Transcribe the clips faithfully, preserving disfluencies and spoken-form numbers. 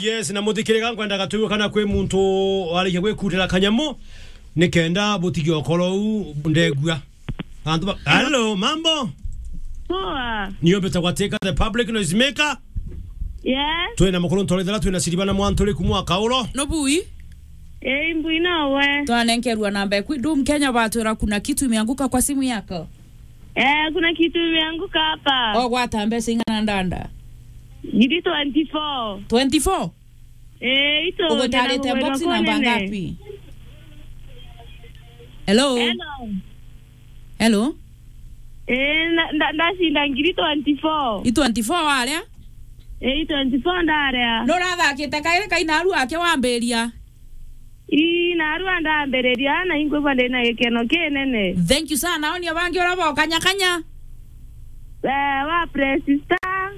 Yes, na muthikiriria, nkwendaga tuigue kana kwi muntu warikia gwikundira kanyamu, nikenda butige ukoro u ndegua. Antu ba, hello, mambo? Poa. Niyo mbitagwa Teka the public noise maker. Yes. Twina mukuru ntorethera, twina Siriba na Mwanturi kumwa Kauro. No bui? Eh, mbui nawe. Twanenkerwa namba eku, Dum Kenya batwira kuna kitu imeanguka kwa simu yako. Eh, kuna kitu imeanguka hapa. Ogwata mbeca ing'ana ndanda? Ngiri twenty-four. Twenty-four? Eh, ito, ugutarite ndina box namba nene. Ngapi? Hello? Hello? Hello? Eh, na, nda-, ndacinda ngiri twenty-four. I twenty-four waria? Eh, i twenty-four ndaria. Nurathakite kairi kainaru ake wambiria? Ii, narua ndambiriria na inkwigua ndina gikeno kinene. Thank you sana. Oni abangi ura bokanyakanya? Eh, wa press star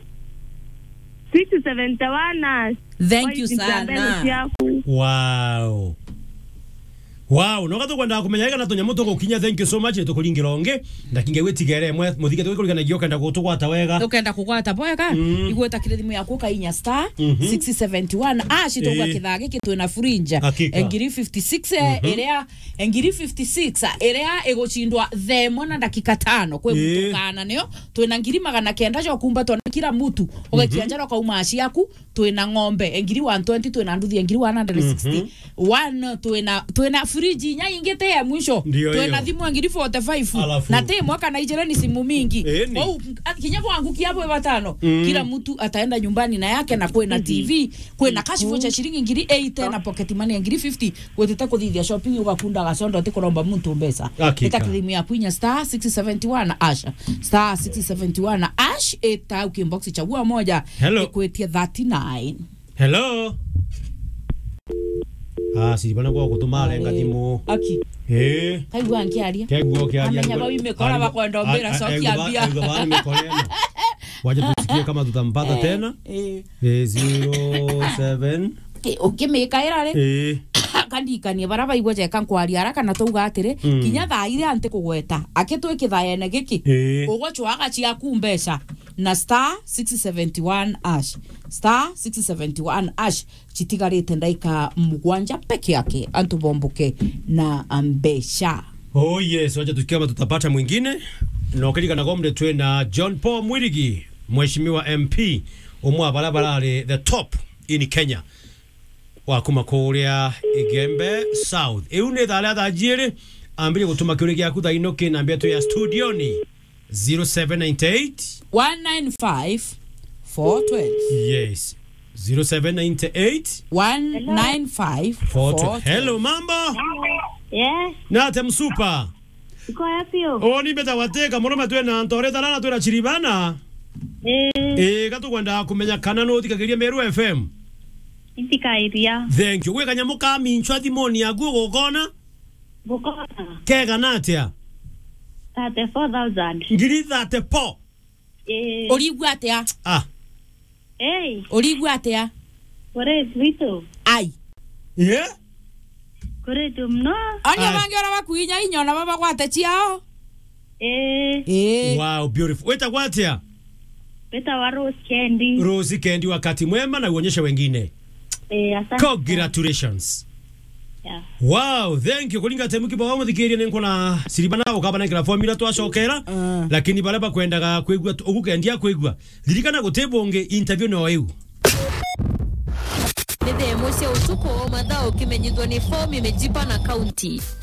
six seventy-one hash. Thank you sana. Ciaku. Wow. Wow, no gatukwenda kumenya kana tunyamu tugukinya. Thank you so much. Tukuringira ungi. Ndakinge gwitigere mwe muthike tugikurikanagia ukenda gutugwata wega. Ukenda kugwata bwega? Mm. Igweta kiri thimu yaku ukainya star Mhm. six seventy-one hash, tugwa Eh. kithaa giki twina frinja. Hakika. Ngiri fifty-six, eh, Mhm. iria, ngiri fifty-six, iria igucindwa thaa imwe na ndakika tano. Kwi Eh. muntu kana nio, twina ngiri magana kenda jo kumbatwa na kila mutu. Ugekia Mhm. njara ukauma ciaku, twina ng'ombe, ngiri one twenty, twina nduthi, ngiri one hundred sixty. Mhm. One, twina, twina fridge inya ingi ti ya mwisho. Ndio twina hiyo. Thimu ngiri forty-five. Alafu. Na ti mwaka na ijira ni simu mingi. Eh, ni. Kwou, a-, kinya kwangu kia bwe batano, Mm. kila mtu ataenda nyumbani na yake, na kwina Mhm. T V, kwina cash voucher shilingi ngiri eighty na pocket money ya ngiri fifty, gwetete kuthithia shopping, ugakunda gacondo, ti kuromba muntu mbeca. Hakika. Ita kithimu ya kwinya star six seventy-one hash. Star six seventy-one hash, ita ukibox chagua moja, Hello. Ikwetie thirty-nine. Hello? Ah, siri bana kwa kutuma arenga Eh, thimu. Aki. Eh. Kaigua nkiaria. Kegua kiaria. Amenya bau imekora bakwenda ombira cokia mbia. Kegua bana imekora. Wacha tusikie kama tutampata Eh, tena. Eh. Eh, zero seven. Eh, ukimikaira ri? Eh. Kandikanie bara baigua jeka nkwaria haraka na twauga atiri, Mm. kinya thaa iria nti kugweta. Akitwikithayene giki. Eh. Ugochwaga ciaku mbeca. Na star six seventy-one hash. Star six seventy-one hash. Chitigarite ndaika mugwanja peke yake, antu bomboke na mbeca. Oh yes, wacha tusikie kama tutapata mwingine. Na ukiririkana kombe twina John Paul Mwirigi, mheshimiwa M P, umwe wa bara barari the top in Kenya, wa kuma kuria Igembe South. Iu ni thaa ria thaa jiiri, ambirie gutuma kiuria giaku thaa ino kinambia tu ya studioni. Zero seven nine eight. One nine five, four twelve. Yes. Zero seven nine eight. One nine five, four twelve. Hello, mambo? Yes. Nate msupa? Iko wapi yo? Oh, ni beta wateka, mwanaume twena Ntore Tarana, twena Chiribana. Eh. Eh, gatukwenda kumenya kana no thikagiria Meru F M. Nthikairia. Thank you. Gwe kanyamu ka minchwa thimoni yaku ugukona? Bukona. Kegana atia? Thirty-four thousand. Ngiri thirty-four? Eh. Urigua atia? Ah. Hey. Urigua atia? Kuri tu. Ai. Yeah? Kuri tu mno. Ani Ai. Abangi ora bakuinya inya ona baba gwate ciao? Eh. Eh. Wow, beautiful. Wetagwa atia? Wetagwa Rose Kendi. Rose Kendi, wakati mwema na uonyeshe wengine. Eh, asante. Congratulations. Yeah. Wow, thank you. Kuringa temu kibawa muthikirie ni nkona siribana ukabana kila formula twacokera. Ah. Lakini baria bakwendaga kwigua tu-, ugukendia kwigua. Ririkana guti bungi interview no iu. Ni thaa imwe cia utuku, mathaa ukimenyithwa ni fomu imejipa na kaunti.